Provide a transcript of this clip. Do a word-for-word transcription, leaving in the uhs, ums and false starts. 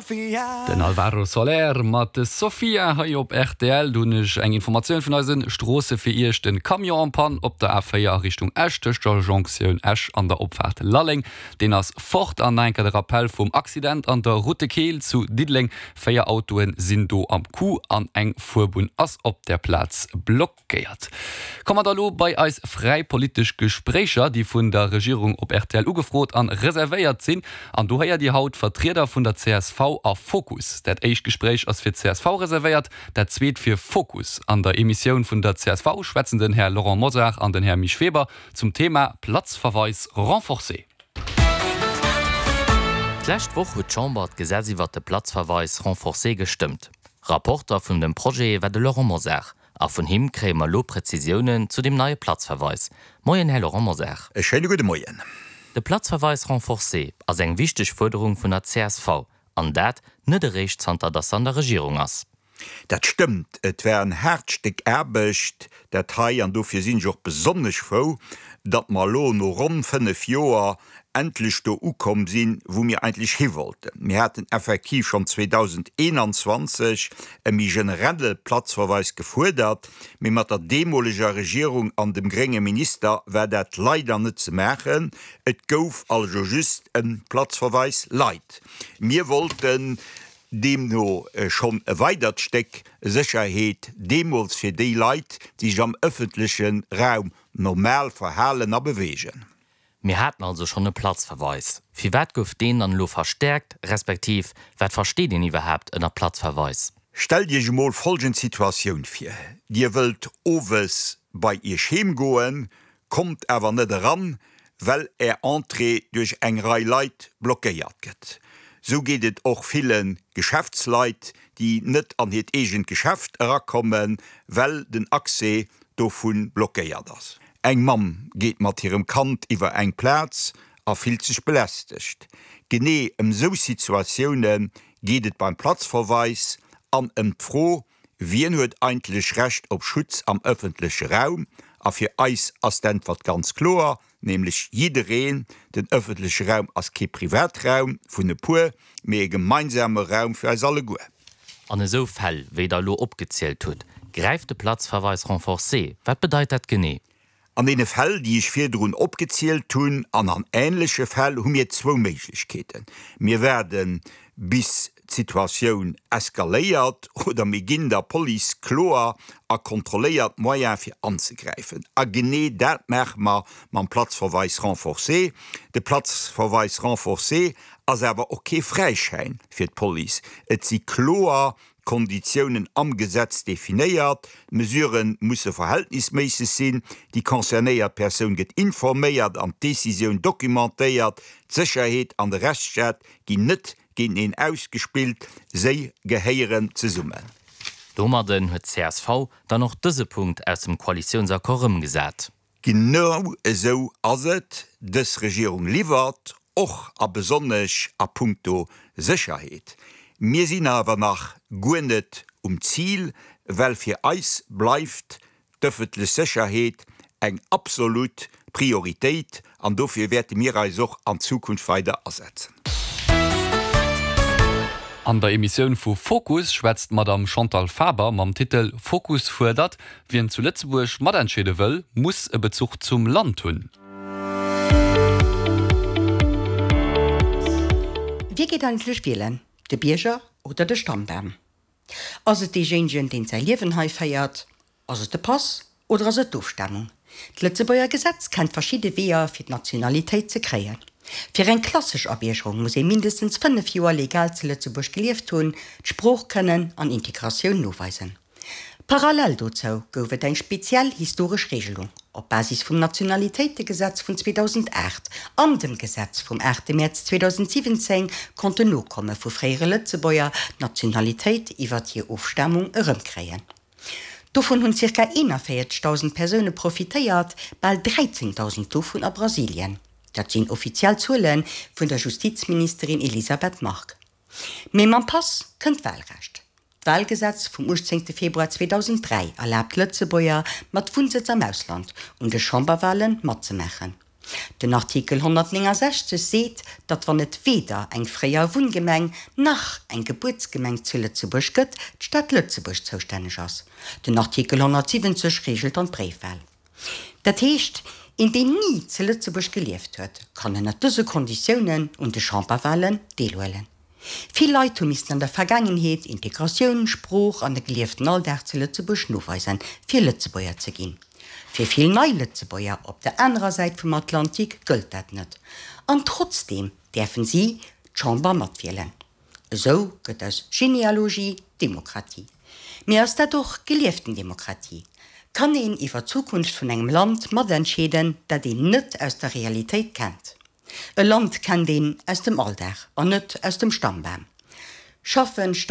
Den Alvaro Soler mat Sofia hei op rtl. Do hunn ech eng Informatioun vun eise Stroosse fir Iech, Den Camion en panne op der A véier a Richtung Esch tëscht der Jonktioun Esch an der Opfaart Lalleng, deen ass fort. An nach eng Kéier de Rappell vum Accident an der Route de Keel zu Diddeleng, Véier Autoe sinn do am Coup an eng Fuerbunn ass op der Plaz blockéiert. Komme mer da lo bei eis fräi politesch Gespréicher, déi vun der Regierung op rtl ugefrot an reservéiert sinn. An do héiert Dir haut Vertrieder vun der csv a Fokus. Dat éischt Gespréich ass fir d'CSV reservéiert, dat zweet fir Fokus. An der Emissioun vun der csv schwätzen den Här Laurent Mosar an den Här Misch Weber zum Thema Platzverweis renforcé. D'lescht Woch huet d'Chamber d'Gesetz iwwert de Platzverweis renforcé gestëmmt. Rapporter vun dem Projet war de Laurent Mosar. A vun him kréie mer lo Präzisiounen zu dem neie Platzverweis. Moien, Här Laurent Mosar. E schéine gudde Moien. De Platzverweis renforcé ass eng wichteg Fuerderung vun der csv. An dat net eréischt zanter dass se an der Regierung ass. Dat stëmmt, et war en haart Stéck Aarbecht dat hei an dofir sinn ech och besonnesch frou, datt mer elo no ronn fënnef Joer endlech do ukomm sinn, wou mir eigentlech hiwollten. Mir haten effektiv schonn zweedausendeenanzwanzeg e méi generelle Platzverweis gefuerdert, mee mat der deemoleger Regierung an dem grénge Minister war dat leider net ze maachen. Et gouf also just e Platzverweis light. Mir wollten deemno schonn e weidert Stéck Sécherheet deemools fir déi Leit, déi sech am ëffentleche Raum normal verhalen a beweegen. Mir haten also schonn e Platzverweis. Firwat gouf deen dann elo verstäerkt, respektiv wat versteet een iwwerhaapt ënner Platzverweis? Stellt Iech emol folgend Situatioun vir, Dir wëllt owes bei Iech heem goen, kommt awer net eran, well Är Entrée duerch eng Rei Leit blockéiert gëtt. Sou geet et och ville Geschäftsleit, déi net an hiert eegent Geschäft erakommen, well den Accès dovu blockéiert ass. Eng Mamm geet mat hirem Kand iwwer eng Plaz a fillt sech belästegt. Genee ëm sou Situatioune geet et beim Platzverweis an ëm d'Fro, Wien huet eigentlech Recht op Schutz am ëffentleche Raum? A fir eis ass d'Äntwert ganz kloer, nämlech jiddereen. Den ëffentleche Raum ass kee Privatraum vun e puer, mee e gemeinsame Raum fir eis alleguer. An esou Fäll, wéi Der elo opgezielt hutt, gräift de Platzverweis renforcé. Wat bedeit dat genee? An deene Fäll, déi ech virdrun opgezielt hunn, an an änleche Fäll, hu mir zwou Méiglechkeeten, Mir waarde bis d'Situatioun eskaléiert oder mir ginn der Police kloer a kontrolléiert Moyen fir anzegräifen. A genee dat maache mer mam Platzverweis renforcé. De Platzverweis renforcé ass awer och kee Fräischäin fir d'Police. Et si kloer Konditiounen am Gesetz definéiert, d'Mesurë musse verhältnisméisseg sinn, déi concernéiert Persoun gëtt informéiert an d'Decisioun documentéiert, d'Sécherheet an de Rechtsstaat ginn net géinteneen ausgespillt, si gehéieren zesummen. Domadden huet d'CSV dann och dëse Punkt aus dem Koalitiounsaccord ëmgesat. Genau esou ass et, dës Regierung liwwert, och a besonnesch a puncto Sécherheet. Mir sinn awer nach guer net um Zil, well fir eis bleift d'ëffentlech Sécherheet eng absolut Prioritéit an dofir wäerte mir eis och an Zukunft weider asetzen. An der Emissioun vu Fokus schwätzt d'Madame Chantal Faber mam Titel Fokus fuerdert, Wien zu Lëtzebuerg matentscheede wëll, muss e Bezuch zum Land hunn. Wie geet eigentlech wielen, de Bierger oder de Stammbam? Ass et deejéinegen, deen säi Liewen hei féiert? Ass et de Pass oder ass et d'Ofstamung? D'Lëtzebuerger Gesetz kennt verschidde Weeër, fir d'Nationalitéit ze kréien. Fir eng klassesch Abiergerung muss ee mindestens fënnef Joer legal zu Lëtzebuerg gelieft hunn, d'Sprooch kënnen an Integratioun noweisen. Parallel dozou gouf et eng speziell historesch Regelung op Basis vum Nationalitéitegesetz vun zweedausendacht an dem Gesetz vum aachte Mäerz zweedausensiwwenzéng konnten Nokomme vu fréiere Lëtzebuerger d'Nationalitéit iwwert hir Ofstamung erëmkréien. Dovun hunn zirka eenanvéierzegdausend Persoune profitéiert, bal dräizéngdausend dovun a Brasilien. Dat sinn offiziell Zuele vun der Justizministerin Elisabeth Margue. Mee mam Pass kënnt d'Wahlrecht. D'Wahlgesetz vum uechtzéngte Februar zweedausenddräi erlaabt Lëtzebuerger mat Wunnsëtz am Ausland, un de Chamberwahle matzemaachen. Den Artikel honnertnéngensechzeg seet, datt wann et weder eng fréier Wunngemeng nach eng Gebuertsgemeng zu Lëtzebuerg gëtt, d'Stad Lëtzebuerg zoustänneg ass. Den Artikel honnertsiwwenzeg reegelt dann d'Bréifwal. Dat heescht, een deen ni zu Lëtzebuerg gelieft huet, kann ënner dëse Konditiounen un de Chamberwalen deelhuelen. Vill Leit hu missten an der Vergaangenheet Integratioun, Sprooch an de gelieften Alldag zu Lëtzebuerg noweisen, fir Lëtzebuerger ze ginn. Fir vill nei Lëtzebuerger op der anerer Säit vum Atlantik gëllt dat net. An trotzdeem däerfen si d'Chamber matwielen. Esou gëtt aus Genealogie Demokratie. Mee ass dat och gelieften Demokratie? Kann een iwwer d'Zukunft vun engem Land matentscheeden, dat een net aus der Realitéit kennt? E Land kennt een aus dem Alldag an net aus dem Stammbam. Schaffen,